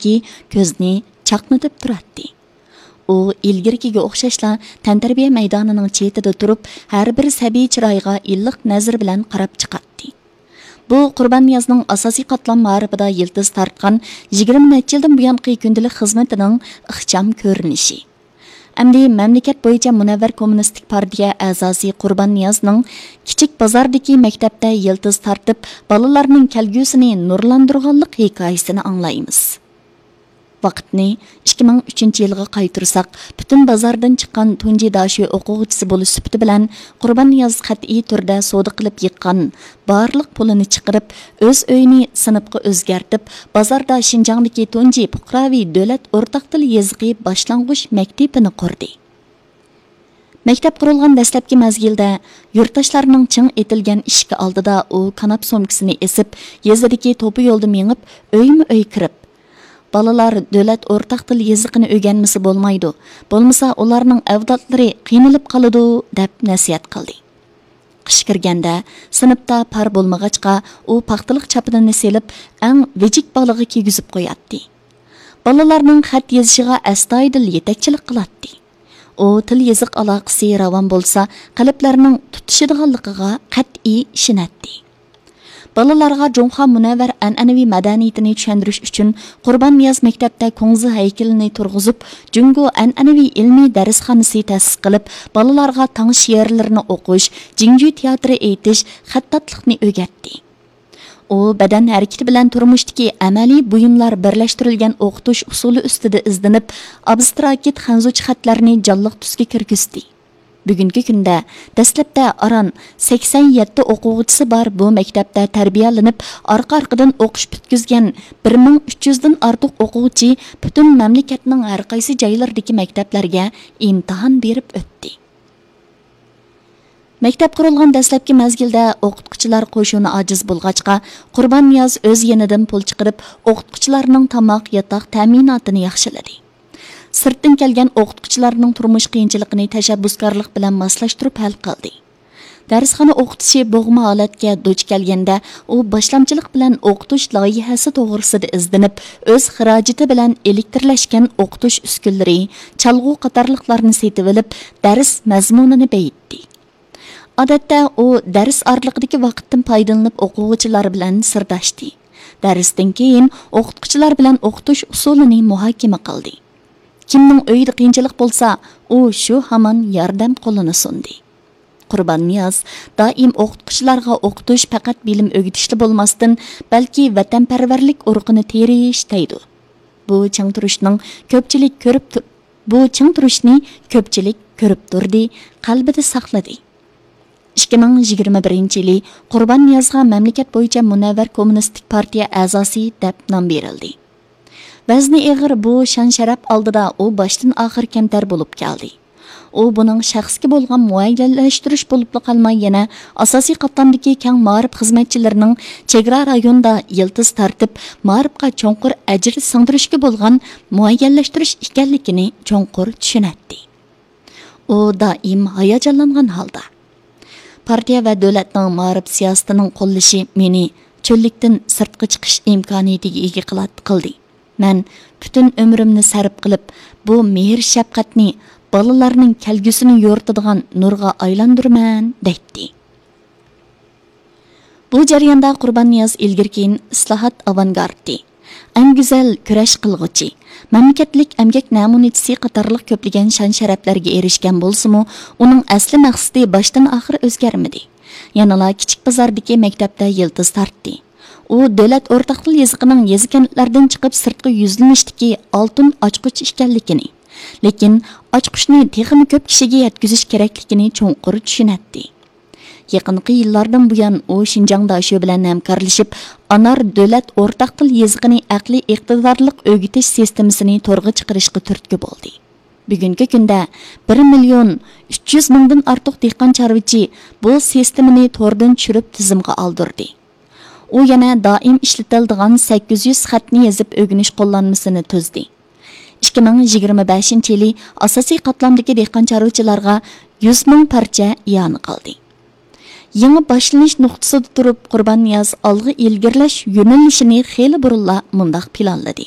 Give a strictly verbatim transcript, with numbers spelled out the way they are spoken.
ئىككى كۆزنى چاقنىتىپ تۇراتتى. ئۇ ئىلگىرىكىگە ئوخشاشلا تەنتەربىيە مەيدانىنىڭ چېتىدە تۇرۇپ، ھەر بىر سەبىي چىرايغا ئىللىق نەزىرى بىلەن قاراپ چىقاتتى. بۇ قۇرباننىيازنىڭ ئاساسىي قاتلام مائارىپىدا يىلتىز تارتقان يىگىرمە نەچچە يىلدىن بۇيانقى كۈندىلىك خىزمىتىنىڭ ئىخچام كۆرۈنۈشى. ئەمدى مەملىكەت بويىچە مۇنەۋۋەر كوممۇنىستىك پارتىيە ئەزاسى قۇرباننىيازنىڭ كىچىك بازاردىكى مەكتەپتە يىلتىز تارتىپ، بالىلارنىڭ كەلگۈسىنى نۇرلاندۇرغانلىق ھېكايىسىنى ئاڭلايمىز. ۋاقىتنى ئىككى مىڭ ئۈچىنچى يىلغا قايتۇرساق، پۈتۈن بازاردىن چىققان تۇنجى داشۆ ئوقۇغۇچىسى بولۇش سۈپىتى بىلەن، قۇرباننىياز قەتئىي تۈردە سودا قىلىپ يىغقان بارلىق پۇلىنى چىقىرىپ، ئۆز ئۆيىنى سىنىپقا ئۆزگەرتىپ، بازاردا شىنجاڭدىكى تۇنجى پۇقراۋى دۆلەت ئورتاق تىل يېزىقى باشلانغۇچ مەكتىپىنى قۇردى. مەكتەپ قۇرۇلغان دەسلەپكى مەزگىلدە، يۇرتداشلارنىڭ چىڭ ئېتىلگەن ئىشىكى ئالدىدا ئۇ كاناپ سومكىسىنى ئېسىپ، يېزىدىكى توپا يولدا مېڭىپ، ئۆيمۇ ئۆي كىرىپ، «بالىلار دۆلەت ئورتاق تىل يېزىقىنى ئۆگەنمىسە بولمايدۇ، بولمىسا ئۇلارنىڭ ئەۋلادلىرى قىينىلىپ قالىدۇ» دەپ نەسىھەت قىلدى. قىش كىرگەندە، سىنىپتا پار بولمىغاچقا، ئۇ پاختىلىق چاپىنىنى سېلىپ، ئەڭ ۋىجىك بالىغا كىيگۈزۈپ قوياتتى. بالىلارنىڭ خەت يېزىشىغا ئەستايىدىل يېتەكچىلىك قىلاتتى. ئۇ تىل يېزىق ئالاقىسى راۋان بولسا، قەلبلەرنىڭ تۇتىشىدىغانلىقىغا قەتئىي ئىشىنەتتى. بالىلارغا جۇڭخۇا مۇنەۋۋەر ئەنئەنىۋى مەدەنىيىتىنى چۈشەندۈرۈش ئۈچۈن، قۇرباننىياز مەكتەپتە كۇڭزى ھەيكىلىنى تۇرغۇزۇپ، جۇڭگو ئەنئەنىۋى ئىلمىي دەرسخانىسى تەسىس قىلىپ، بالىلارغا تاڭ شېئىرلىرىنى ئوقۇش، جىڭجۈ تىياتىرى ئېيتىش، خەتتاتلىقنى ئۆگەتتى. ئۇ بەدەن ھەرىكىتى بىلەن تۇرمۇشتىكى ئەمەلىي بۇيۇملار بىرلەشتۈرۈلگەن ئوقۇتۇش ئۇسۇلى ئۈستىدە ئىزدىنىپ، ئابستراكت خەنزۇچە خەتلەرنى جانلىق تۈسكە كىرگۈزدى. بۈگۈنكى كۈندە دەسلەپتە ئاران سەكسەن يەتتە ئوقۇغۇچىسى بار بۇ مەكتەپتە تەربىيەلىنىپ، ئارقا-ئارقىدىن ئوقۇش پۈتكۈزگەن بىر مىڭ ئۈچ يۈزدىن ئارتۇق ئوقۇغۇچى پۈتۈن مەملىكەتنىڭ ھەرقايسى جايلىرىدىكى مەكتەپلەرگە ئىمتىھان بېرىپ ئۆتتى. مەكتەپ قۇرۇلغان دەسلەپكى مەزگىلدە ئوقۇتقۇچىلار قوشۇنى ئاجىز بولغاچقا، قۇرباننىياز ئۆز يېنىدىن پۇل چىقىرىپ، ئوقۇتقۇچىلارنىڭ تاماق، ياتاق تەمىناتىنى ياخشىلىدى. سىرتتىن كەلگەن ئوقۇتقۇچىلارنىڭ تۇرمۇش قىيىنچىلىقىنى تەشەببۇسكارلىق بىلەن ماسلاشتۇرۇپ ھەل قىلدى. دەرسخانا ئوقۇتۇشى بوغما ھالەتكە دۇچ كەلگەندە، ئۇ باشلامچىلىق بىلەن ئوقۇتۇش لايىھەسى توغرىسىدا ئىزدىنىپ، ئۆز خىراجىتى بىلەن ئېلېكترلەشكەن ئوقۇتۇش ئۈسكۈنىلىرى، چالغۇ قاتارلىقلارنى سېتىۋېلىپ، دەرس مەزمۇنىنى بېيىتتى. ئادەتتە ئۇ دەرس ئارىلىقىدىكى ۋاقىتتىن پايدىلىنىپ ئوقۇغۇچىلار بىلەن سىرداشتى. دەرستىن كېيىن ئوقۇتقۇچىلار بىلەن ئوقۇتۇش ئۇسۇلىنى مۇھاكىمە قىلدى. كىمنىڭ ئۆيىدە قىيىنچىلىق بولسا، ئۇ شۇ ھامان ياردەم قولىنى سۇندى. قۇرباننىياز دائىم ئوقۇتقۇچىلارغا ئوقۇتۇش پەقەت بىلىم ئۆگىتىشلا بولماستىن، بەلكى ۋەتەنپەرۋەرلىك ئۇرۇقىنى تېرىش دەيدۇ. بۇ چىڭ تۇرۇشنىڭ كۆپچىلىك كۆرۈپ تۇ-، بۇ چىڭ تۇرۇشنى كۆپچىلىك كۆرۈپ تۇردى، قەلبىدە ساقلىدى. ئىككى مىڭ يىگىرمە بىرىنچى يىلى قۇرباننىيازغا مەملىكەت بويىچە مۇنەۋۋەر كوممۇنىستىك پارتىيە ئەزاسى دەپ نام بېرىلدى. ۋەزنى ئېغىر بۇ شان-شەرەپ ئالدىدا ئۇ باشتىن-ئاخىر كەمتەر بولۇپ كەلدى. ئۇ بۇنىڭ شەخسكە بولغان مۇئەييەنلەشتۈرۈش بولۇپلا قالماي، يەنە ئاساسىي قاتلامدىكى كەڭ مائارىپ خىزمەتچىلىرىنىڭ چېگرا رايوندا يىلتىز تارتىپ، مائارىپقا چوڭقۇر ئەجىر سىڭدۈرۈشكە بولغان مۇئەييەنلەشتۈرۈش ئىكەنلىكىنى چوڭقۇر چۈشىنەتتى. ئۇ دائىم ھاياجانلانغان ھالدا، پارتىيە ۋە دۆلەتنىڭ مائارىپ سىياسىتىنىڭ قوللىشى مېنى چۆللۈكتىن سىرتقا چىقىش ئىمكانىيىتىگە ئىگە قىلات-، قىلدى. مەن پۈتۈن ئۆمرۈمنى سەرپ قىلىپ، بۇ مېھىر-شەپقەتنى بالىلارنىڭ كەلگۈسىنى يورۇتىدىغان نۇرغا ئايلاندۇرىمەن، دەيتتى. بۇ جەرياندا قۇرباننىياز ئىلگىرى-كېيىن ئىسلاھات ئاۋانگارتى، ئەڭ گۈزەل كۈرەش قىلغۇچى، مەملىكەتلىك ئەمگەك نەمۇنىچىسى قاتارلىق كۆپلىگەن شان-شەرەپلەرگە ئېرىشكەن بولسىمۇ، ئۇنىڭ ئەسلى مەقسىتى باشتىن-ئاخىر ئۆزگەرمىدى. يەنىلا كىچىك بازاردىكى مەكتەپتە يىلتىز تارتتى. ئۇ دۆلەت ئورتاق تىل يېزىقىنىڭ يېزا-كەنتلەردىن چىقىپ سىرتقا يۈزلىنىشتىكى ئالتۇن ئاچقۇچ ئىكەنلىكىنى، لېكىن ئاچقۇچنى تېخىمۇ كۆپ كىشىگە يەتكۈزۈش كېرەكلىكىنى چوڭقۇر چۈشىنەتتى. يېقىنقى يىللاردىن بۇيان، ئۇ شىنجاڭ داشۆ بىلەن ھەمكارلىشىپ، ئانار دۆلەت ئورتاق تىل يېزىقىنى ئەقلىي ئىقتىدارلىق ئۆگىتىش سىستېمىسىنى تورغا چىقىرىشقا تۈرتكە بولدى. بۈگۈنكى كۈندە بىر مىليون ئۈچ يۈز مىڭدىن ئارتۇق دېھقان چارۋىچى بۇ سىستېمىنى توردىن چۈشۈرۈپ تىزىمغا ئالدۇردى. ئۇ يەنە دائىم ئىشلىتىلىدىغان سەككىز يۈز خەتنى يېزىپ ئۆگىنىش قوللانمىسىنى تۈزدى. ئىككى مىڭ يىگىرمە بەشىنچى يىلى ئاساسىي قاتلامدىكى دېھقان چارۋىچىلارغا يۈز مىڭ پارچە ئىئانە قىلدى. يېڭى باشلىنىش نۇقتىسىدا تۇرۇپ، قۇرباننىياز ئالغا ئىلگىرىلەش يۆنىلىشىنى خېلى بۇرۇنلا مۇنداق پىلانلىدى: